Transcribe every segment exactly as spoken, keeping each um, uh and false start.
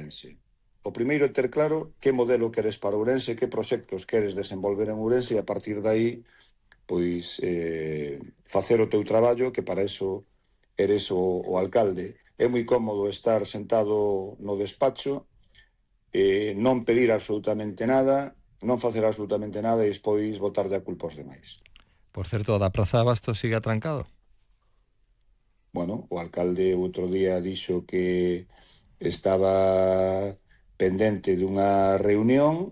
Ourense. O primeiro é ter claro que modelo queres para Ourense, que proxectos queres desenvolver en Ourense e a partir de aí pois eh, facer o teu traballo, que para eso eres o, o alcalde. É moi cómodo estar sentado no despacho, eh, non pedir absolutamente nada, non facer absolutamente nada e despois botarlle a culpa aos demais. Por certo, da Praza de Abastos sigue atrancado? Bueno, o alcalde outro día dixo que estaba pendente dunha reunión.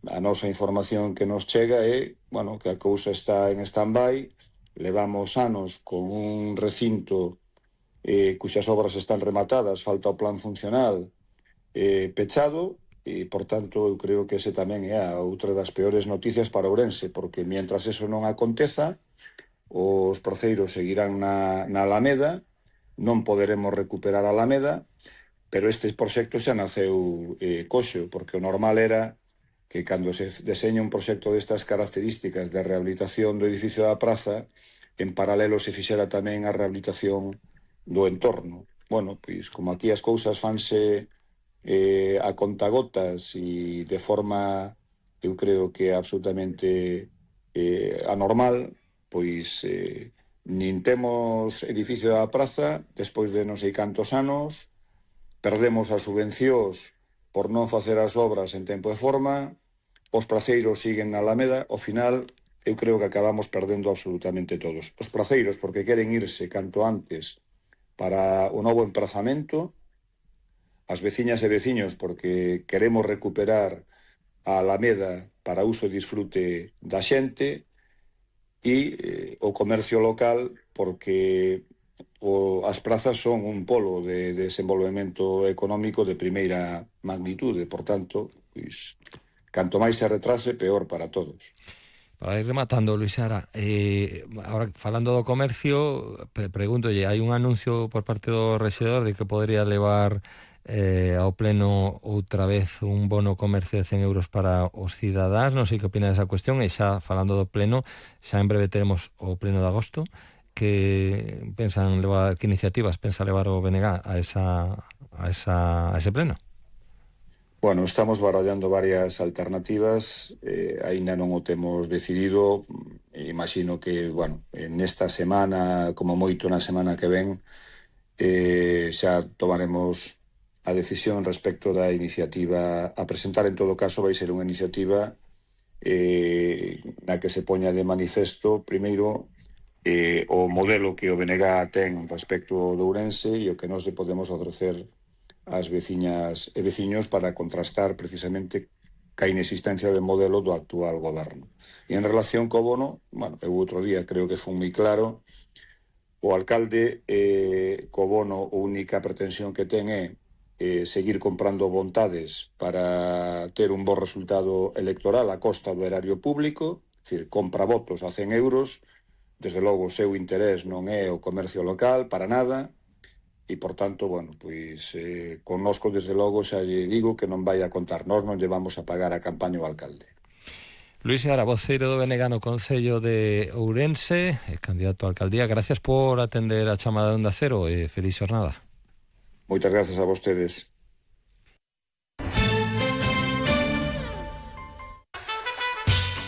A nosa información que nos chega é, bueno, que a cousa está en stand-by, levamos anos con un recinto eh, cuxas obras están rematadas, falta o plan funcional eh, pechado, e, por tanto, eu creo que ese tamén é a outra das peores noticias para Ourense, porque mientras eso non aconteza, os proceiros seguirán na, na Alameda, non poderemos recuperar a Alameda, pero este proxecto xa naceu eh, coxo, porque o normal era que cando se deseña un proxecto destas características de rehabilitación do edificio da praza, en paralelo se fixera tamén a rehabilitación do entorno. Bueno, pois como aquí as cousas fanse eh, a contagotas e de forma, eu creo que absolutamente eh, anormal, pois eh, nin temos edificio da praza despois de non sei cantos anos, perdemos as subvencións por non facer as obras en tempo e forma, os praceiros siguen na Alameda, ao final eu creo que acabamos perdendo absolutamente todos. Os praceiros porque queren irse canto antes para o novo emprazamento, as veciñas e veciños porque queremos recuperar a Alameda para uso e disfrute da xente, e eh, o comercio local porque o, as prazas son un polo de, de desenvolvemento económico de primeira magnitude, por tanto, pois, canto máis se retrase, peor para todos. Para ir rematando, Luís Seara, eh, ahora falando do comercio, pre pregúntolle, hai un anuncio por parte do rexedor de que podría levar eh, ao pleno outra vez un bono comercio de cen euros para os cidadáns, non sei que opina desa cuestión, e xa falando do pleno, xa en breve teremos o pleno de agosto. Que pensan levar, que iniciativas pensa levar o B N G a esa a esa a ese pleno? Bueno, estamos barallando varias alternativas, eh, aínda non o temos decidido. Imagino que, bueno, nesta semana, como moito na semana que ven, eh, xa tomaremos a decisión respecto da iniciativa a presentar. En todo caso, vai ser unha iniciativa eh, na que se poña de manifesto, primeiro, Eh, o modelo que o B N G ten respecto do Ourense e o que nós podemos ofrecer ás veciñas e veciños para contrastar precisamente ca inexistencia de modelo do actual goberno. E en relación co bono, bueno, eu outro día creo que foi moi claro, o alcalde eh, co bono a única pretensión que ten é eh, seguir comprando vontades para ter un bo resultado electoral a costa do erario público, é dicir, compra votos a cen euros. Desde logo, o seu interés non é o comercio local, para nada, e, por tanto, bueno, pois, eh, connosco, desde logo, xa lle digo que non vai a contar. Nós non lle vamos a pagar a campaña ao alcalde. Luís Seara, voceiro do B N G no Concello de Ourense, candidato a alcaldía, gracias por atender a chamada de Onda Cero e feliz xornada. Moitas gracias a vostedes.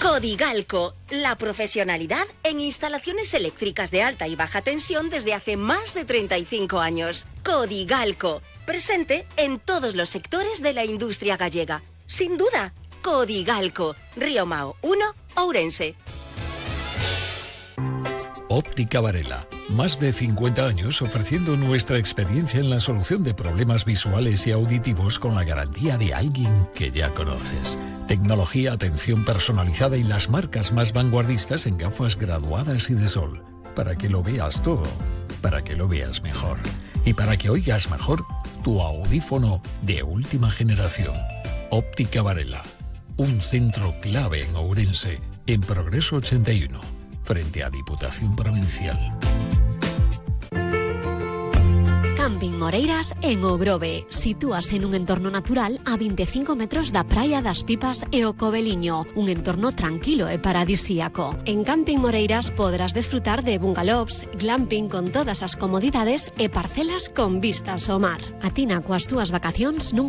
Codigalco, la profesionalidad en instalaciones eléctricas de alta y baja tensión desde hace más de treinta y cinco años. Codigalco, presente en todos los sectores de la industria gallega. Sin duda, Codigalco, Río Mao uno, Ourense. Óptica Varela, más de cincuenta años ofreciendo nuestra experiencia en la solución de problemas visuales y auditivos con la garantía de alguien que ya conoces. Tecnología, atención personalizada y las marcas más vanguardistas en gafas graduadas y de sol. Para que lo veas todo, para que lo veas mejor. Y para que oigas mejor, tu audífono de última generación. Óptica Varela, un centro clave en Ourense, en Progreso ochenta y uno. Frente a Diputación Provincial. Camping Moreiras en O Grove. Sitúase en un entorno natural a veinticinco metros da Praia das Pipas e o Coveliño. Un entorno tranquilo e paradisíaco. En Camping Moreiras podrás desfrutar de bungalows, glamping con todas as comodidades e parcelas con vistas ao mar. Atina coas túas vacacións nun